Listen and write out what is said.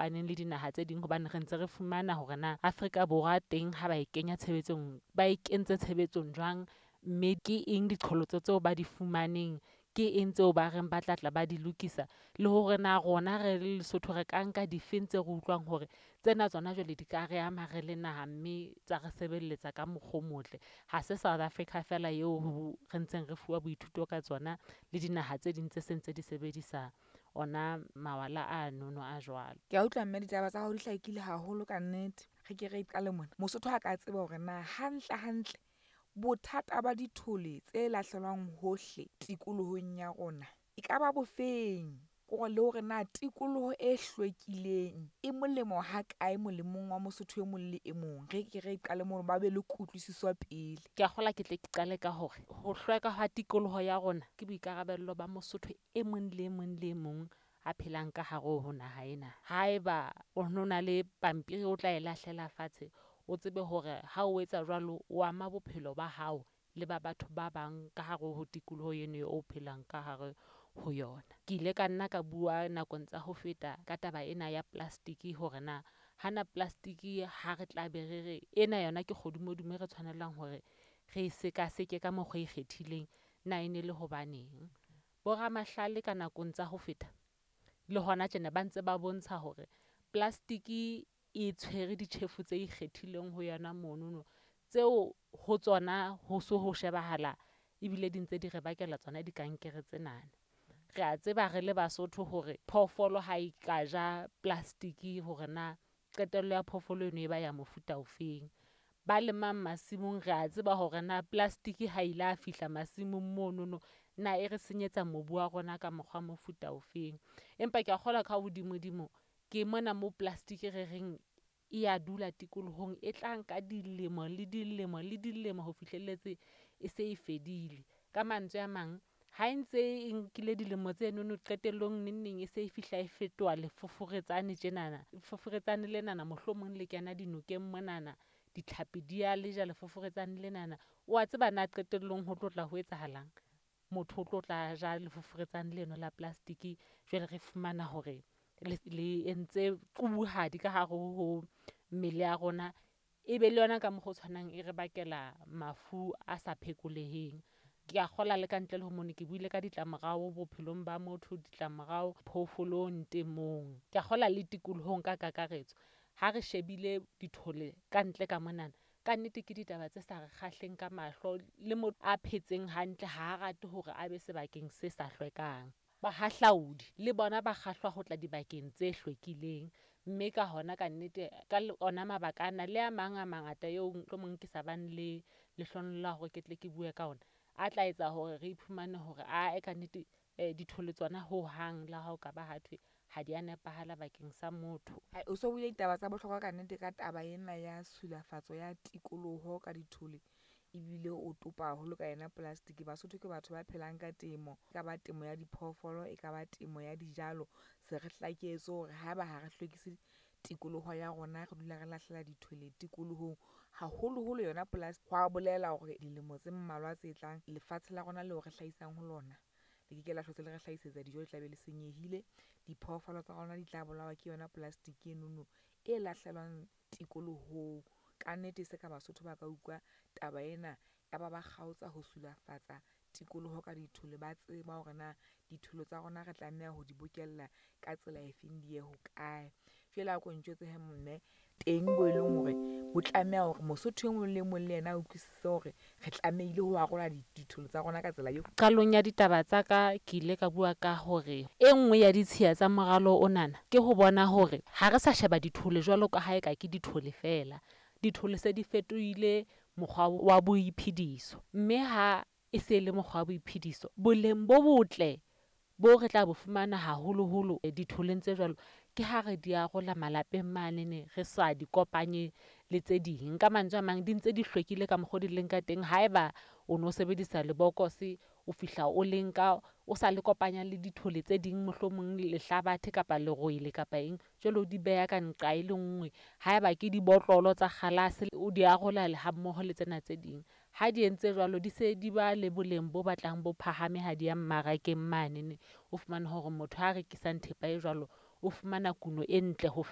fapaneng le dinaha tse ding. Hobane re ntse re fumana hore na Afrika Borwa teng ha ba e kenya tshebetsong, ba e kentse tshebetsong jwang. Mme ke eng diqholotso tseo ba di fumaneng, ke eng tseo ba reng ba tla tla ba di lokisa? Le hore na rona re le Lesotho re ka nka difeng tse re utlwang hore tsena tsona jwale di ka re ama re le naha mme tsa re sebeletsa ka mokgwa o motle. Ha se South Africa feela eo ho re ntseng re fuwa boithuto ka tsona le dinaha tse ding tse seng tse di sebedisa ona mawala ano no a jwalo. Ke a utlwa mme ditaba tsa hao di hlakile haholo ka nnete. Re ke re qale mona. Mosotho ha ka tseba hore na hantle hantle bothata ba dithole tse lahlelwang hohle tikolohong ya rona e ka ba bofeng? Kore le hore na tikoloho e hlwekileng e molemo ha kae molemong wa Mosotho e mong le e mong. Re ke re qale mono ba be le kutlwisiso pele. Ke a kgolwa ke tle ke qale ka hore ho hlweka ha tikoloho ya rona ke boikarabello ba Mosotho e mong le e mong le e mong a phelang ka hare ho naha ena. Haeba o no na le pampiri o tla e lahlela fatshe, o tsebe hore ha o etsa jwalo, o ama bophelo ba hao le ba batho ba bang ka hare ho tikoloho eno o phelang ka hare ho yona. Ke ile ka nna ka bua nakong tsa ho feta ka taba ena ya plastic hore na hana plastic ha re tla be re re ena yona ke kgodumodumo e re tshwanelang hore re e sekaseke ka mokgwa o ikgethileng, na e ne le hobaneng? Bo ramahlale ka nakong tsa ho feta le hona tjena ba ntse ba bontsha hore plastic e tshwere ditjhefo tse ikgethileng ho yona monono. Tseo ho tsona ho so ho shebahala ebile di ntse di re bakela tsona dikankere tsena. Re a tseba re le Basotho hore phoofolo ha e ka ja plastic hore na qetello ya phoofolo eno e ba ya mofuta ofeng. Ba lemang masimong, re a tseba hore na plastic ha ile a fihla masimong monono na e re senyetsa mobu wa rona ka mokgwa mofuta ofeng. Empa ke a kgolwa ka hodimodimo ke mona mo plastic re reng e ya dula tikolohong, e tla nka dilemo le dilemo le dilemo ho fihlelletse e se e fedile. Ka mantswe a mang, ha e ntse e nkile dilemo tsenono qetellong nengneng e se e fihla e fetoha lefoforetsane tjenana. Lefoforetsane lenana mohlomong le kena dinokeng monana, ditlhapi di ya le ja lefoforetsane lenana. Wa tseba na qetellong ho tlotla ho etsahalang? Motho o tlo tla ja lefoforetsane leno la plastic. Jwale re fumana hore le entse qubuhadi ka hare ho mmele ya rona. E be le yona ka mokgwa o tshwanang e re bakela mafu a sa phekoleheng. Ke a kgolwa le kantle le ho mono ke buile ka ditlamorao bophelong ba motho, ditlamorao phoofolong, temong. Ke a kgolwa le tikolohong ka kakaretso. Ha re shebile dithole kantle ka monana, kannete ke ditaba tse sa re kgahleng ka mahlo. Le motho a phetseng hantle ha a rate hore a be sebakeng se sa hlwekang. Bahahlaudi le bona ba kgahlwa ho tla dibakeng tse hlwekileng. Mme ka hona ka nnete, ka ona mabaka ana le a mang a mangata eo mohlomong ke sa bang le lehlohonolo la hore ke tle ke bue ka ona. A tla etsa hore re iphumane hore ae kannete dithole tsona hohang le ha o ka ba ha thwe ha di a nepahala bakeng sa motho. O so buile ditaba tsa bohlokwa ka nnete ka taba ena ya tshilafatso ya tikoloho ka dithole. Ebile o topa haholo ka yona plastic. Basotho ke batho ba phelang ka temo, e ka ba temo ya diphoofolo, e ka ba temo ya dijalo. Se re hlaketswe hore haeba ha re hlwekise tikoloho ya rona, re dula re lahlela dithole tikolohong, haholoholo yona polasi. Hwa bolela hore dilemo tse mmalwa tse tlang lefatshe la rona leo re hlahisang ho lona le ke ke la hlotse le re hlahisetsa dijo, le tla be le senyehile. Diphoofolo tsa rona di tla bolawa ke yona plastic enono e lahlelwang tikolohong. Ka nnete se ka Basotho ba ka utlwa taba ena, ya ba ba kgaotsa ho sulafatsa tikoloho ka dithole. Ba tseba hore na dithole tsa rona re tlameha ho di bokella ka tsela e feng, di ye hokae. Jwale a ko ntjwetse he mme, teng bo e leng hore bo tlameha hore Mosotho e mong le mong le yena a utlwisise hore re tlamehile ho arola dithole tsa rona ka tsela eo. Qalong ya ditaba tsa ka, ke ile ka bua ka hore e nngwe ya ditshiya tsa moralo onana ke ho bona hore ha re sa sheba dithole jwalo ka ha eka ke dithole feela. Dithole se di fetohile mokgwa wa boiphediso. Mme ha e se le mokgwa wa boiphediso, boleng bo botle bo re tla bo fumana haholoholo ditholeng tse jwalo, ke ha re di arola malapeng manene, re sa di kopanye le tse ding. Ka mantswe a mang, di ntse di hlwekile ka mokgo di leng ka teng. Haeba o no sebedisa lebokose, o fihla o le nka o sa le kopanya le dithole tse ding, mohlomong lehlabathe kapa lerwele kapa eng. Jwale o di beha ka nqa e le nngwe. Haeba ke dibotlolo tsa kgalase, o di arola ha mmoho le tsena tse ding. Ha di entse jwalo, di se di ba le boleng bo batlang bo phahame ha di ya mmarakeng manene. O fumane hore motho a rekisang thepa e jwalo, o fumana kuno e ntle ho.